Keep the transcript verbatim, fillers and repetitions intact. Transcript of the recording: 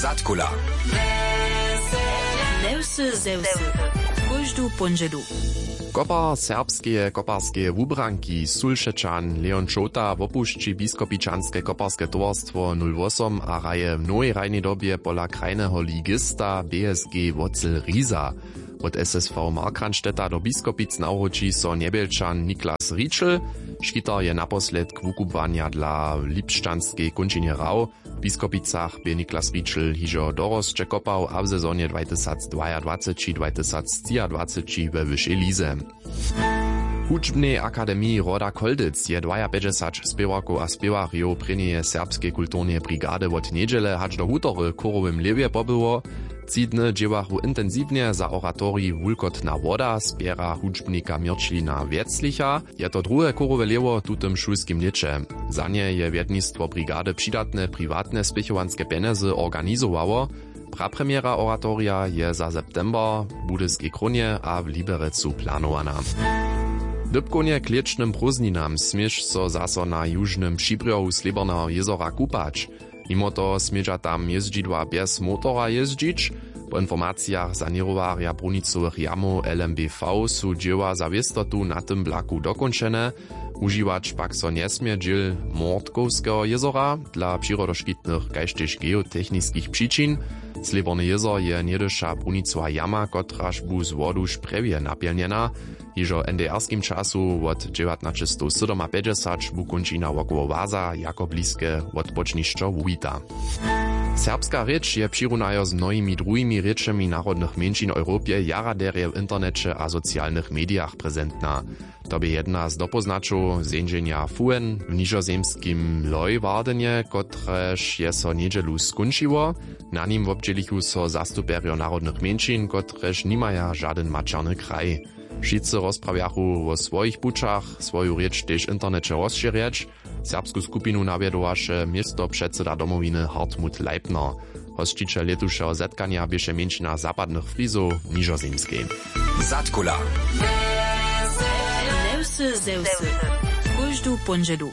Zadkula. Newsy ze wsy. Kóždu póndźelu. Kopar serbskeje koparskeje wubranki, sulšečan Leon Čołta, wopušći biskopičanske koparske towarstwo nul wosom a hraje w nowej hrajnej dobje pola krajneho ligista B S G Wocel Riza. Wot S S V Markranstädta do Biskopic nawróći so njebjelčan Niklas Ričel. Škitar je naposledk wukubłanja dla w lipšćanskej kónčinje hrał. W Biskopicach bě Niklas Ričel hižo dorosće kopał a w sezonje dwajtysacdwajadwaceći dwajtysactřiadwaceći we wyšej lize. W hudźbnej akademiji Roda Choldźec je dwajapjećdźesać spěwarkow a spěwarjow prěnjeje serbskeje kulturneje brigady wot njedźele hač do wutory w chórowym lěwje pobyło. Tři dny dźěłachu intensiwnje za oratorij Wulkotna woda spěra hudźbnika Měrćlina Wjeclicha. Je to druhe chórowe lěhwo w tutym šulskim lěće. Za nje je wjednistwo brigady přidatne priwatne spěchowanske pjenjezy organizowało. Prapremjera oratorija je za september w Budyskej Krónje a w Liberecu planowana. Dypkownje k lěćnym prózdninam směš so zaso na južnym přibrjohu Slěborneho jězora kupać. Nimo toho smědźa tam jězdźidła bjez motora jězdźić. Po informacijach saněrowarja brunicowych jamow L M B V su dźěła za wěstotu na tym blaku dokónčene. Wužiwać pak so njesmě dźěl Mortkowskeho jězora dla přirodoškitnych kaž tež geotechniskich přičin. Slěborny jězor je něhdyša brunicowa jama, kotraž bu z wodu šprjewje napjelnjena. Hižo w N D R skim času wot dźewjatnaćestowsydomapjećdźesat bu kónčina wokoło waza jako bliske wotpočnišćo wuwita. Serbska rěč je přirunajo z mnohimi druhimi rěčemi narodnych mjeńšin w Europje jara derje w interneće a socialnych medijach prezentna. To bě jedna z dopóznaćow zeńdźenja fuen w nižozemskim Leuwardenje, kotrež je so njedźelu skónčiło. Na nim wobdźělichu so zastupjerjo narodnych mjeńšin, kotrež nimaja žadyn maćerny kraj. Wšitcy rozprawjachu wo swojich pućach, swoju rěč tež w interneće rozšěrjeć. Serbsku skupinu nawjedowaše městopředsyda Domowiny Hartmut Leipner. Hosćićel lětušeho zetkanja běše mjeńšina zapadnych Frizow w Nižozemskej. Zadkula. Newsy ze wsy. Kóždu póndźelu.